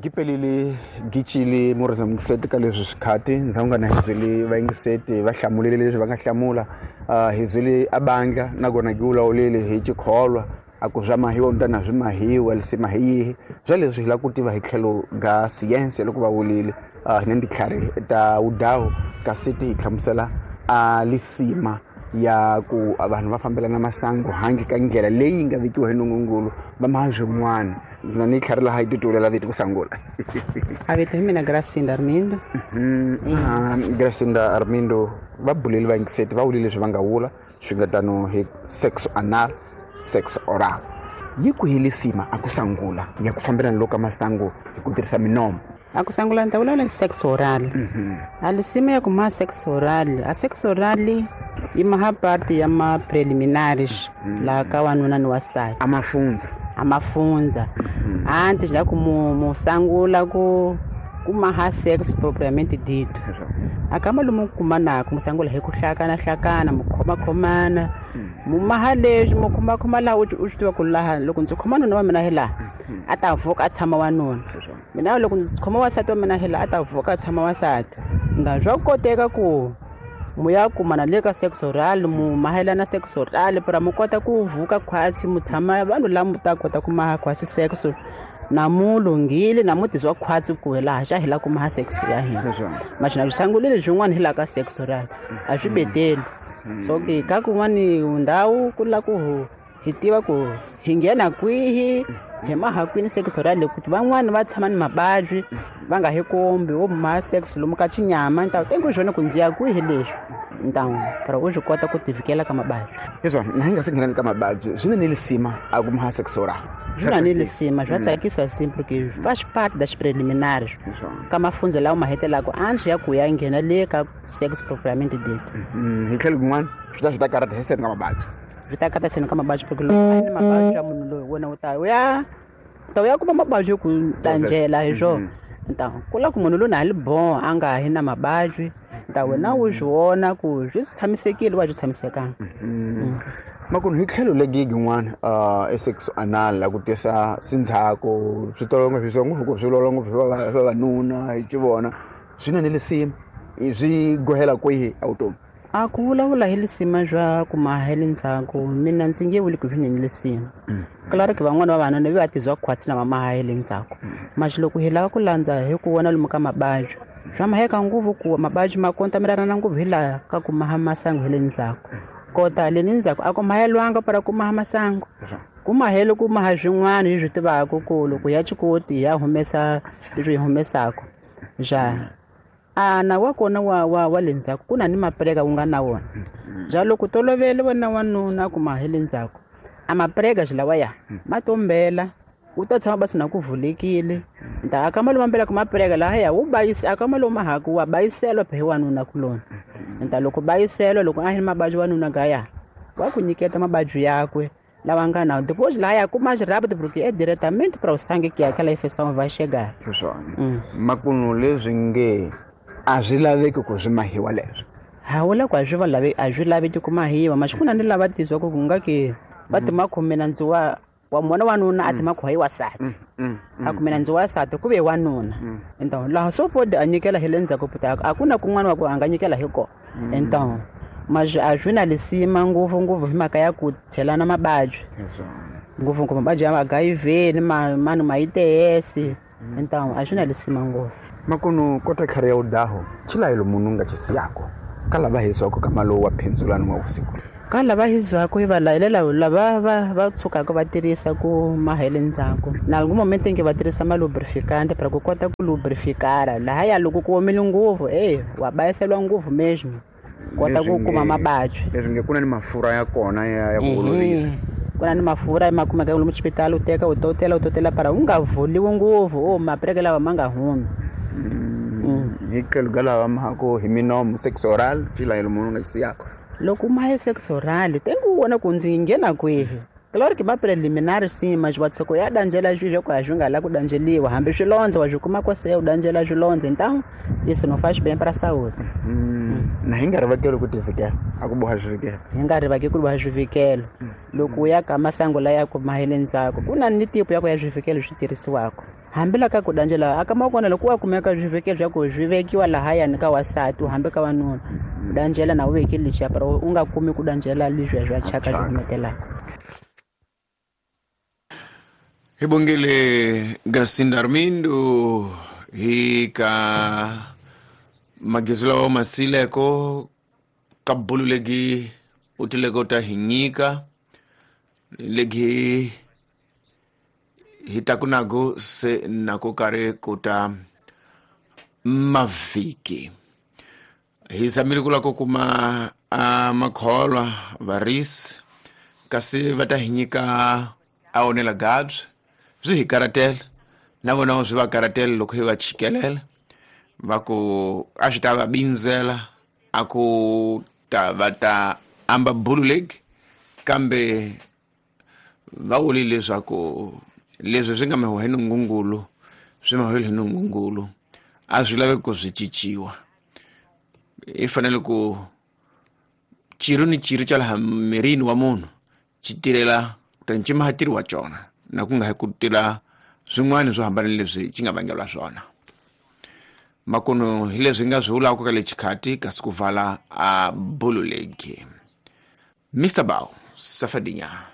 Gipelile gicile murisa mungiseti ka leswi swikhati ndzhaku nga na hi byeli vayingiseti va hlamulile leswi va nga hlamula. Hi byeli a bandla nakona gi vulavulile hi xikholwa a ku swa mahiwa ntana swi mahiwa lisima hi yihi bya leswi hi lava ku tiva hi tlhelo ga siyense loko va vulile. Hi na titlhari ta wudawu kasi ti hi hlamusela a lisima ya ku vanhu va fambelana masangu handle ka ndlela leyi nga vekiwa hi nungungulu va maha swin'wana. Ndzi na ni tlhari laha yi titulela vito ku sangula. A vito hi mina Gracinda Armindo. Gracinda Armindo va buleli vayingiseti va vulile leswi va nga vula swi nga tano hi sex anal, sex oral. Yi ku hi lisima a ku sangula ya ku fambelana loko ka masangu hi ku tirhisa minomo. A ku sangula ni ta vulavula hi sex oral. A lisima ya ku maha sex oral, a sex oral yi maha part ya ma preliminaries laha ka wanuna ni wansati. A mafundza. A mafundza. Anti xa ku mu sangula ku maha sex propriamente dito. A ka malume ku kuma nako mu sangula hi ku hlakana hlakana mu khoma khomana. Mu maha leswi mu khoma khoma laha u swi tiva ku laha loko ndzi khoma nuna wa mina hi laha a ta vuka a tshama wanuna. Mina loko ndzi khoma wansati wa mina hi laha a ta vuka a tshama wansati. Nga swa koteka ku mu ya kumana le ka sex oral mu mahelana sex oral para mu kota ku vuka khwatsi mu tshama vanhu lava mu ta kota ku maha khwatsi sex na mu lunghile na mu tizwa khwatsi ku hi laha xa hi lava ku maha sex ya hina. Maxina swi sangulile swin'wana hi laha ka sex oral a swi beteli. So ke ka kun'wani ndhawu ku la ku hi tiva ku hi nghena kwihi hi maha kwini sex oral ku van'wani va tshama ni mabadyi va nga hi kombi wo maha sex lomu ka xinyama ni ta tengo swona ku ndzi ya kwihi leswi ntawu para u swi kota ku tivikela ka mabadyi. Hiswona na hi nga se nghenani ka mabadyi swi na ni lisima a ku maha sex oral. Swi na ni lisima swa tsakisa simple ke faz parte das preliminares ka mafundza lawa ma hetelaka ansi ya ku ya nghena le ka sex propriamente dito. Hi tlhelo kun'wana swi ta karata hi seni ka mabadyi. Swi ta karata seni ka mabadyi porque loko a ni mabadyi ya munhu loyi wena u ta ya ta ya kuma mabadyi ku tanjela hi swona. Ntawu ku la ku munhu loyi a li bon a nga hi na mabadyi nta wena u swi vona ku swi tshamisekile wa swi tshamisekanga. Makunu hi tlhelo legi yin'wana e sex anal la ku tisa sindzhaku swi tolo ngopfu swi ngopfu swi lolo ngopfu swa vavanuna hi xivona swi na ni lisima swi gohela kwihi a vutomi. A ku vulavula hi lisima swa ku maha hi le ndzhaku mina ndzi nge vuli ku swi ni lisima. Claro que van'wana va vanuna va tizwa khwatsi na va maha hi le ndzhaku. Maxi loko hi lava ku landza hi ku vona lomu ka mabadyi swa maheka ngopfu ku mabadyi ma kontamelana ngopfu hi laha ka ku maha masangu hi le ndzhaku. Kota le ndzhaku a ku mahelwanga para ku maha masangu. Ku mahele ku maha swin'wana hi swi tivaka ku loko ya xikoti ya humesa leswi hi humesaka. Ja a na wa kona wa le ndzhaku ku na ni mapreka wu nga na wona. Ja loko tolovele wena wanuna ku maha le ndzhaku a mapreka xilawa ya ma tombela u ta tshama basi na ku vulekile. Nta aka malume mbela ku mapreka laha ya wu bayisa aka malume haku wa bayiselwa phe wanuna kulona. Nta loko bayiselwa loko a hi mabadyi wanuna gaya wa ku nyiketa mabadyi yakwe lawa nga na depois lá ya kuma rápido porque é diretamente para o sangue que aquela infecção vai chegar. Swona. Makunu leswi nge a swi laveki ku swi mahiwa leswi. Hawula ku a swi lave a swi laveki ku mahiwa mas ku na ni lava tizwa ku nga ke va ti makhomela ndzi wa mona wanuna a ti makhoyi wasati. A kumela ndzi wasati ku ve wanuna. Então laha so pode a nyikela hi le ndzhaku puta a ku na kun'wana wa ku a nga nyikela hi kona. Então mas a swi na lisima ngopfu ngopfu hi mhaka ya ku chelana mabadyi. Ngopfu ngopfu mabadyi ya HIV ni manu ma ITS. Então a swi na lisima ngopfu. Makunu kota tlhari ya udaho chilayelo munhu nga xisiyako ka lava hiswako ka malowu wa phindzulano wa vusiku. Ka lava hiswako hi va layelela lava va tshukaka va tirhisa ku mahele ndzhaku. Na loko momente nge va tirhisa ma lubrificant para ku kota ku lubrificara laha ya loko ku omile ngopfu wa bayiselwa ngopfu mesmo. Kota ku kuma mabadyi. Leswi nge ku na ni mafurha ya kona ya ku olovisa. Ku na ni mafurha ma kumeka lomu xipitali u teka u totela para u nga vuliwi ngopfu mapreke lawa ma nga humi. Hi tlhelo ka lava mahako hi minomo sex oral xilayelo munhu nga xisiyako. Loko mahe sex oral tengo u vona ku ndzi nghena kwihi. Claro que ma preliminar sim, mas wa tsoko ya danjela swilo ku a swi nga la ku danjeliwa hambi swilondza wa swi kuma kwase u danjela swilondza, então isso não faz bem para a saúde. Na hi nga rivakeli ku tivikela a ku boha swivikelo. Hi nga rivaki ku boha swivikelo. Loko u ya ka masangu laya ku mahele ndzhaku ku na ni tipo ya ku ya swivikelo swi tirhisiwaka. Hambi la ka ku danjela aka makona loko wa kumeka swivikelo swa ku swi vekiwa lahayani ka wasati hambi ka wanuna u danjela na u vekile lexiya pero u nga kumi ku danjela leswiya swa thyaka swi humetelaka. Hi bongile Gracinda Armindo hi ka magezi lawa masileko ka bulu legi u tileko ta hi nyika legi hi ta ku nago se nako kare ku ta mavhiki. Hi zamile ku la ku kuma a makholwa varisi kasi va ta hi nyika a onela gabs swi hi karatela na vona swi va karatela loko hi va chikelela va ku a swi ta va bindzela a ku ta va ta amba bulu legi, kambe va vule leswaku leswi swi nga mahiwa hi nungungulu swi mahiwile hi nungungulu a swi laveki ku swi cinciwa. I fanele ku xirho ni xirho xa laha mirini wa munhu xi tirhela kutani xi maha tirhi wa xona na ku nga ha ku tila swin'wana swo hambana leswi xi nga vangeliwa swona. Makuno hi leswi nga swi vulaka ka le xikhati kasi ku vala a bulu legi. Mr. Bao Safadinya.